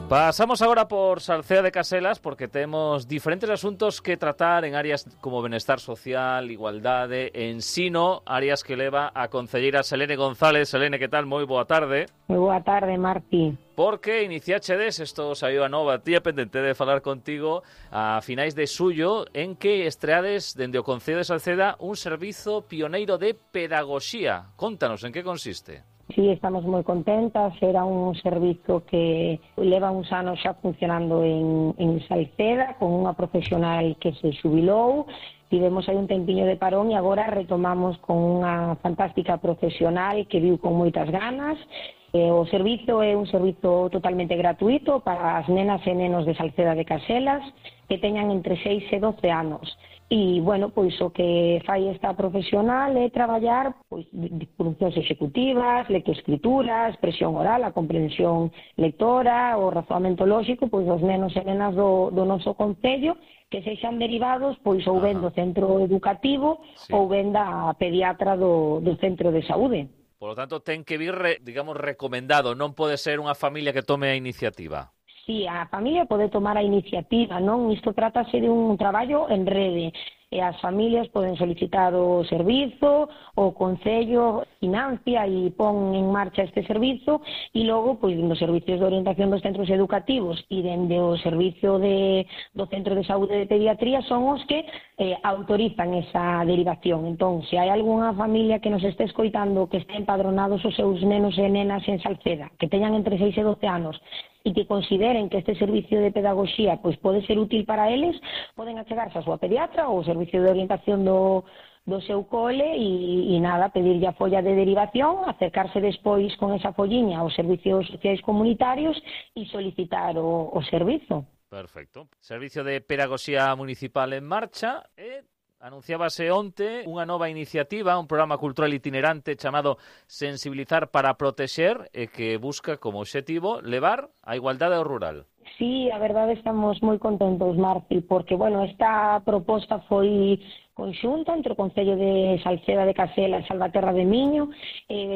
Pasamos agora por Salceda de Caselas porque temos diferentes asuntos que tratar en áreas como benestar social, igualdade, ensino, áreas que leva a concelleira Selene González. Selene, que tal? Moi boa tarde. Moi boa tarde, Marti. Porque iniciachedes, isto saiu a nova, tía pendente de falar contigo, a finais de xullo, en que estreades dende o Concello de Salceda un servizo pioneiro de pedagogía. Contanos, en que consiste? Sí, estamos moi contentas. Era un servizo que leva uns anos xa funcionando en Salceda, con unha profesional que se xubilou. Tivemos aí un tempiño de parón e agora retomamos con unha fantástica profesional que viu con moitas ganas. O servizo é un servizo totalmente gratuito para as nenas e nenos de Salceda de Caselas que teñan entre 6 e 12 anos. E, bueno, pois o que fai esta profesional é traballar pois funcións executivas, lectoescritura, expresión oral, a comprensión lectora, o razoamento lóxico, pois os nenos e nenas do noso concello que sexan derivados pois ou ben do centro educativo ou ben da pediatra do centro de saúde. Por lo tanto, ten que vir, digamos, recomendado, non pode ser unha familia que tome a iniciativa. Sí, a familia pode tomar a iniciativa, non? Isto trátase de un traballo en rede. E as familias poden solicitar o servizo, o Concello financia e pon en marcha este servizo e logo, pois, nos servicios de orientación dos centros educativos e dende o servicio do Centro de Saúde de Pediatría son os que autorizan esa derivación. Entón, se hai algunha familia que nos este escoitando que este empadronados os seus nenos e nenas en Salceda, que teñan entre 6 e 12 anos, e que consideren que este servicio de pedagogía pois pode ser útil para eles, poden achegarse a súa pediatra ou o servicio de orientación do seu cole e nada, pedirlle a folla de derivación, acercarse despois con esa folliña aos servicios sociais comunitarios e solicitar o servizo. Perfecto. Servicio de Pedagogía Municipal en marcha e anunciábase onte unha nova iniciativa, un programa cultural itinerante chamado Sensibilizar para Protexer e que busca como obxectivo levar a igualdade ao rural. Sí, a verdade estamos moi contentos, Marti, porque, bueno, esta proposta foi conxunta entre o Concello de Salceda de Caselas e Salvaterra de Miño,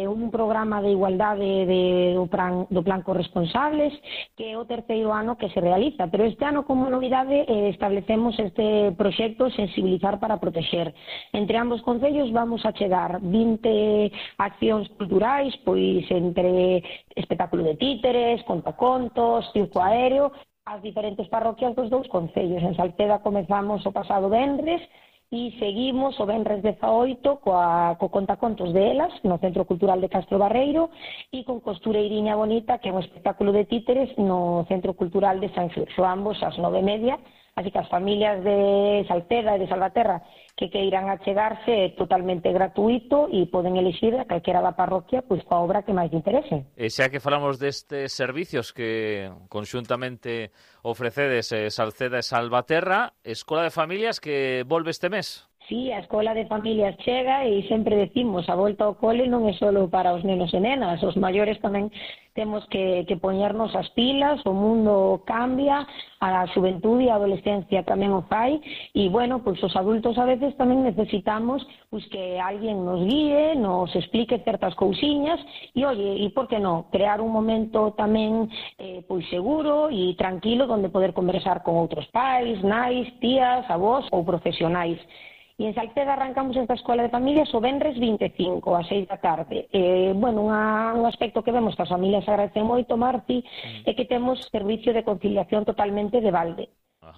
un programa de igualdade do Plan Corresponsables, que é o terceiro ano que se realiza, pero este ano como novidade establecemos este proxecto Sensibilizar para Protexer. Entre ambos concellos vamos a chegar 20 accións culturais, pois entre espectáculo de títeres, contacontos, circo aéreo, as diferentes parroquias dos dous concellos. En Salceda comezamos o pasado venres, e seguimos o venres 18 co contacontos de Elas no Centro Cultural de Castro Barreiro e con Costureiriña Bonita, que é un espectáculo de títeres no Centro Cultural de San Xurxo, ambos ás 9:30, así que as familias de Salceda e de Salvaterra que queiran achegarse é totalmente gratuito e poden elixir a calquera da parroquia pois coa obra que máis interese. E xa que falamos destes servicios que conxuntamente ofrecedes Salceda e Salvaterra, Escola de Familias que volve este mes. Sí, a Escola de Familias chega e sempre decimos a volta ao cole non é só para os nenos e nenas, os maiores tamén temos que poñernos as pilas, o mundo cambia, a xuventude e a adolescencia tamén o fai e, bueno, pois os adultos a veces tamén necesitamos pois que alguén nos guíe, nos explique certas cousiñas e, oye, e por que non, crear un momento tamén pois seguro e tranquilo onde poder conversar con outros pais, nais, tías, avós ou profesionais. E en Salceda arrancamos esta Escola de Familias o venres 25, a 6 da tarde. Bueno, un aspecto que vemos que as familias agradecen moito, Marti, é que temos servicio de conciliación totalmente de balde.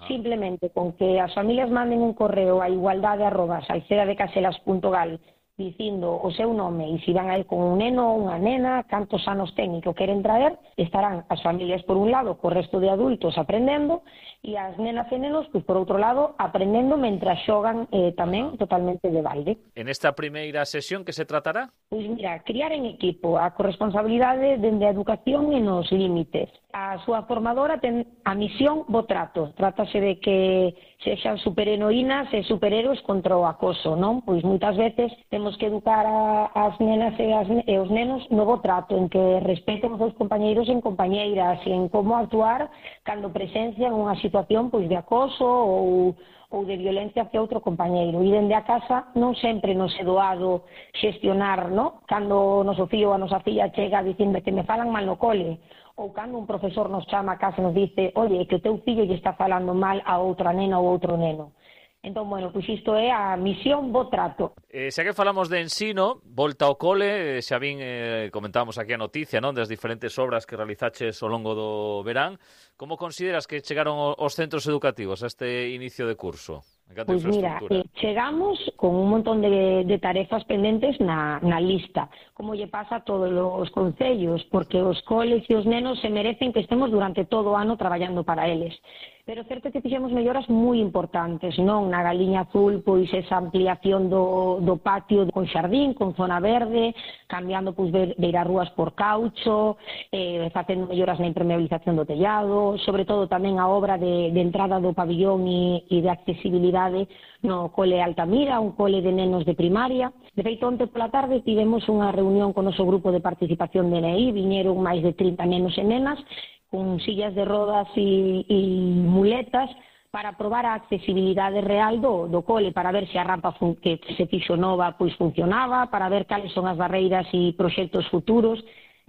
Simplemente con que as familias manden un correo a igualdade@salcedadecaselas.gal dicindo o seu nome e se van a ir con un neno ou unha nena, cantos anos ten e que o queren traer, estarán as familias por un lado co resto de adultos aprendendo e as nenas e nenos, pois, por outro lado, aprendendo mentras xogan tamén totalmente de balde. En esta primeira sesión que se tratará? Pois mira, criar en equipo a corresponsabilidade dende a educación e nos límites. A súa formadora ten a misión bo trato. Trátase de que sexan superheroínas e superhéroes contra o acoso, non? Pois moitas veces temos que educar as nenas e os nenos no bo trato, en que respeten os seus compañeiros e compañeiras e en como actuar cando presencian unha situación pois de acoso ou de violencia hacia outro compañeiro. E dende a casa non sempre nos é doado xestionar, non? Cando o noso fillo ou a nosa filla chega dicindo que me falan mal no cole ou cando un profesor nos chama a casa e nos dice oye, que o teu fillo lle está falando mal a outra nena ou outro neno. Entón, bueno, pois isto é a misión bo trato. Xa que falamos de ensino, volta ao cole, xa vin, comentábamos aquí a noticia, non, das diferentes obras que realizaches ao longo do verán. Como consideras que chegaron os centros educativos a este inicio de curso? Pois mira, chegamos con un montón de tarefas pendentes na lista, como lle pasa a todos os concellos, porque os coles e os nenos se merecen que estemos durante todo o ano traballando para eles. Pero certo que fixemos melloras moi importantes, non? Na Galiña Azul, pois esa ampliación do patio con xardín, con zona verde, cambiando pois beirarrúas por caucho, facendo melloras na impermeabilización do tellado, sobre todo tamén a obra de entrada do pabillón e de accesibilidade no cole Altamira, un cole de nenos de primaria. De feito, onte pola tarde tivemos unha reunión con o noso grupo de participación de NEI, viñeron máis de 30 nenos e nenas, con sillas de rodas e muletas, para probar a accesibilidade real do cole, para ver se a rampa que se fixo nova pois funcionaba, para ver cales son as barreiras e proxectos futuros.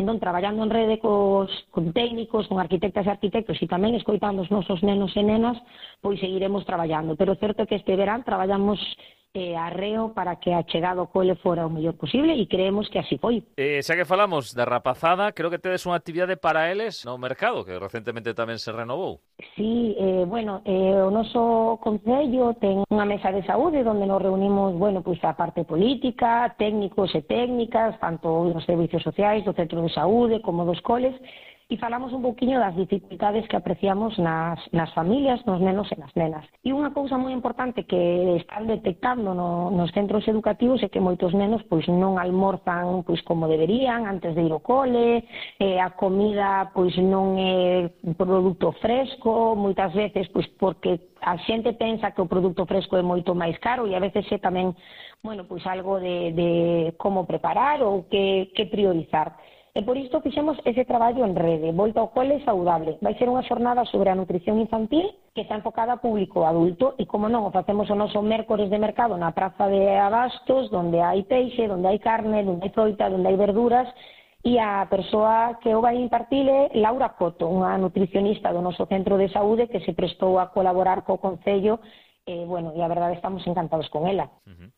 Entón, traballando en rede con técnicos, con arquitectas e arquitectos e tamén escoitando os nosos nenos e nenas, pois seguiremos traballando. Pero é certo que este verán traballamos arreo para que a chegada ao cole fora o mellor posible e creemos que así foi. Xa que falamos da rapazada, creo que tedes unha actividade para eles no mercado, que recentemente tamén se renovou. Sí, o noso concello ten unha mesa de saúde onde nos reunimos, pois a parte política, técnicos e técnicas, tanto dos servicios sociais, do centro de saúde, como dos coles, e falamos un pouquiño das dificultades que apreciamos nas familias, nos nenos e nas nenas. E unha cousa moi importante que están detectando nos centros educativos é que moitos nenos pois non almorzan pois como deberían antes de ir ao cole, a comida pois non é produto fresco, moitas veces pois porque a xente pensa que o produto fresco é moito máis caro e a veces é tamén, pois algo de como preparar ou que priorizar. E por isto fixemos ese traballo en rede, Volta ao Cole Saudable. Vai ser unha xornada sobre a nutrición infantil que está enfocada a público adulto e, como non, o facemos o noso mércores de mercado na Praza de Abastos, onde hai peixe, onde hai carne, onde hai froita, onde hai verduras, e a persoa que o vai impartir é Laura Coto, unha nutricionista do noso centro de saúde que se prestou a colaborar co Concello e a verdade estamos encantados con ela.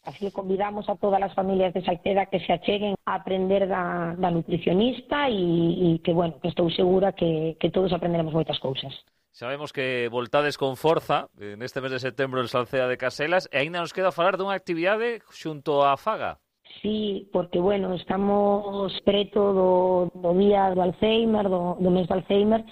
Así que convidamos a todas as familias de Salceda que se acheguen a aprender da nutricionista e que estou segura que todos aprenderemos moitas cousas. Sabemos que voltades con forza neste mes de setembro en Salceda de Caselas e aínda nos queda falar dunha actividade xunto á Faga. Sí, porque, estamos preto do día do Alzheimer, do mes do Alzheimer.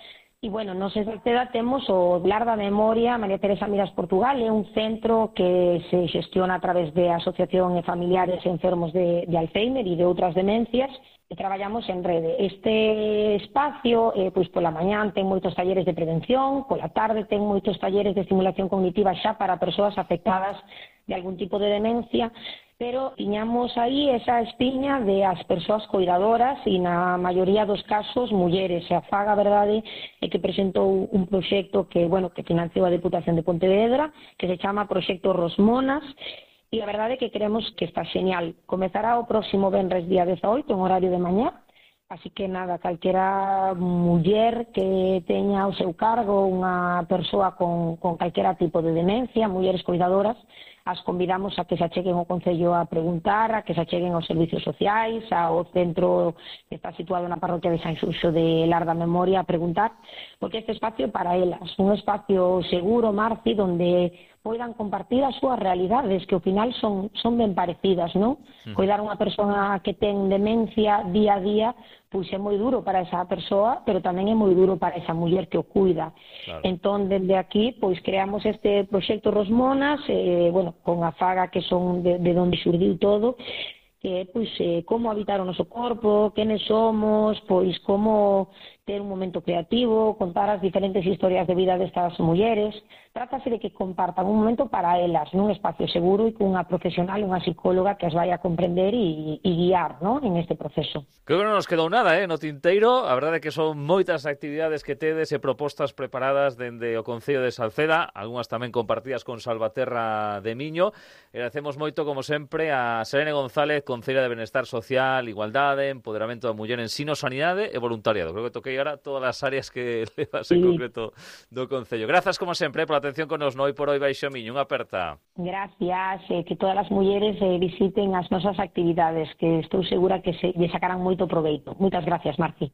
E, nos en Salceda temos o Lar da Memoria María Teresa Miras Portugal, é un centro que se xestiona a través de Asociación de Familiares Enfermos de Alzheimer e de outras demencias, e traballamos en rede. Este espacio, pois pola mañán ten moitos talleres de prevención, pola tarde ten moitos talleres de estimulación cognitiva xa para persoas afectadas de algún tipo de demencia, pero tiñamos aí esa espiña de as persoas coidadoras e na maioría dos casos mulleres. A Faga, a verdade, é que presentou un proxecto que financiou a Deputación de Pontevedra, que se chama Proxecto Rosmonas, e a verdade é que creemos que está genial. Comezará o próximo venres día 18, en horario de mañá, así que nada, calquera muller que teña ao seu cargo unha persoa con calquera tipo de demencia, mulleres coidadoras, as convidamos a que se acheguen ao Concello a preguntar, a que se acheguen aos servicios sociais, ao centro que está situado na parroquia de San Xuxo de Lar da Memoria a preguntar, porque este espacio é para elas, un espacio seguro, Marci, donde poidan compartir as súas realidades, que ao final son ben parecidas, non? Coidar unha persoa que ten demencia día a día, pois é moi duro para esa persoa, pero tamén é moi duro para esa muller que o cuida. Claro. Entón, dende aquí, pois creamos este proxecto Rosmonas, con a Faga, que son de onde xurdiu todo, que é como habitar o noso corpo, quenes somos, pois como ter un momento creativo, contar as diferentes historias de vida destas mulleres. Trátase de que compartan un momento para elas, nun espacio seguro e cunha profesional, unha psicóloga que as vai a comprender e guiar, non, en este proceso. Creo que non nos quedou nada, no tinteiro. A verdade é que son moitas actividades que tedes e propostas preparadas dende o Concello de Salceda, algunhas tamén compartidas con Salvaterra de Miño. Agradecemos moito, como sempre, a Selene González, Concelleira de Benestar Social, Igualdade, Empoderamento da Muller, Ensino, Sanidade e Voluntariado. Creo que toquei ahora todas as áreas que levas en concreto do Concello. Grazas, como sempre, pola atención con nos no Hoy por Hoy Baixo Miño. Unha aperta. Gracias, que todas as mulleres visiten as nosas actividades, que estou segura que lle sacarán moito proveito. Moitas gracias, Marci.